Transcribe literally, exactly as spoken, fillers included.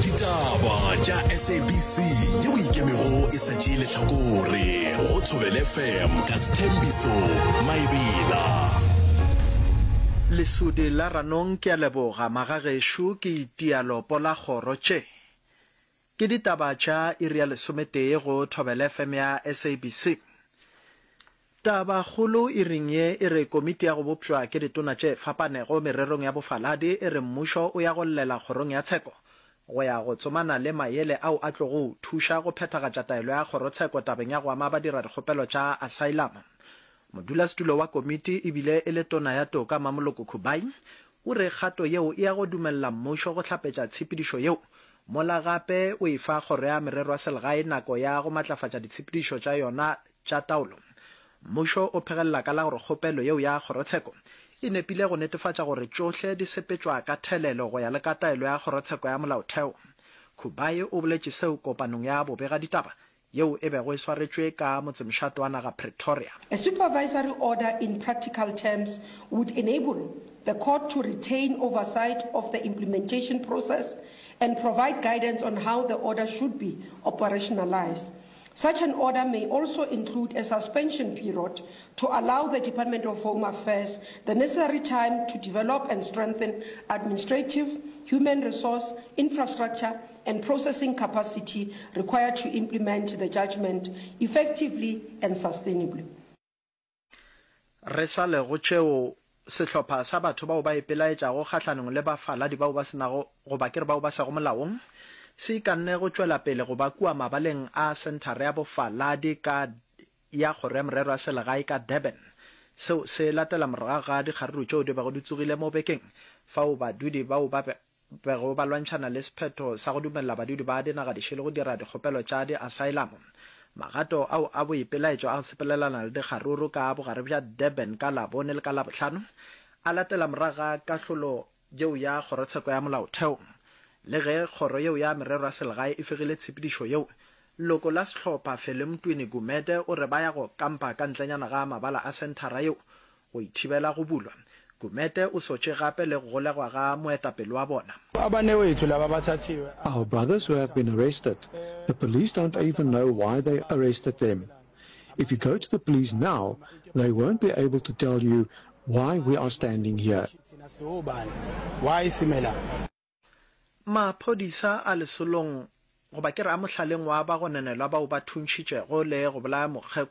Ditaba tša S A B C yeo ikemego e sa tšee lehlakore go Thobela F M ka Sethembiso Maebela. Lesodi la Ranong ke a leboga magagešo ke itia lopo la kgoro tše ke ditaba tša iri ya lesometee go Thobela F M ya S A B C. Tabakgolo iring ye e re komiti ya go bopšwa ke ditona tše fapanego mererong ya bofaladi e re mmušo o ya go llela kgorong ya tsheko go ya go tsomana le maele ao a tlogo thuša go phethagatša taelo ya kgorotsheko tabeng ya go ama badiradikgopelo tša asylum. Modulasetulo wa komiti ebile e le tona ya toka Mmamoloko Kubayi o re kgato yeo e ya go dumelela mmušo go hlapetša tshepedišo yeo mola gape o e fa kgoro ya merero ya selegae nako ya go matlafatša ditshepedišo tša yona tša taolo. Mmušo o phegelela ka la gore kgopelo yeo ya kgorotsheko e nepile go netefatša gore tšohle di sepetšwa ka thelelo go ya le ka taelo ya kgorotsheko ya molaotheo. Kubayi o boletše seo kopanong ya bobegaditaba yeo e bego e swaretšwe ka motsemošate wa naga Pretoria. A supervisory order in practical terms would enable the court to retain oversight of the implementation process and provide guidance on how the order should be operationalized. Such an order may also include a suspension period to allow the Department of Home Affairs the necessary time to develop and strengthen administrative, human resource, infrastructure, and processing capacity required to implement the judgment effectively and sustainably. Re sa le go tšeo, sehlopha sa batho bao ba ipelaetšago kgahlanong le bafaladi bao ba se nago goba ke re bao ba sego molaong se ikanne go tšwela pele go ba kua mabaleng a senthara ya bofaladi ka ya kgoro ya merero ya selegae ka Durban. Seo se latela morago ga dikgaruru tšeo di bego di tsogile mo bekeng fao badudi bao ba bego ba lwantšhana le sephetho sa go dumelela badudi ba dinaga dišele go dira dikgopelo tša di-asylum. Magato ao a boipelaetšo a go sepelelana le dikgaruru ka bogare bja Durban ka Labone le ka Labohlano a latela morago ga kahlolo yeo ya kgorotsheko ya molaotheo. Le ge kgoro yeo ya merero ya selegae e fegile tshepedišo yeo, leloko la sehlopha Felemtwini Gumede o re ba ya go kampa ka ntlenyana ga mabala a senthara yeo go ithibela go bulwa. Gumede o sotše gape le go golegwa ga moetapele wa bona. Abanewethu laba bathathiwe. Our brothers who have been arrested, the police don't even know why they arrested them. If you go to the police now, they won't be able to tell you why we are standing here. Thina siwobani, why sime la? Maphodisa a lesolong goba ke re a mohlaleng wa bagononelwa bao ba thuntšhitšego le go bolaya mokgekolo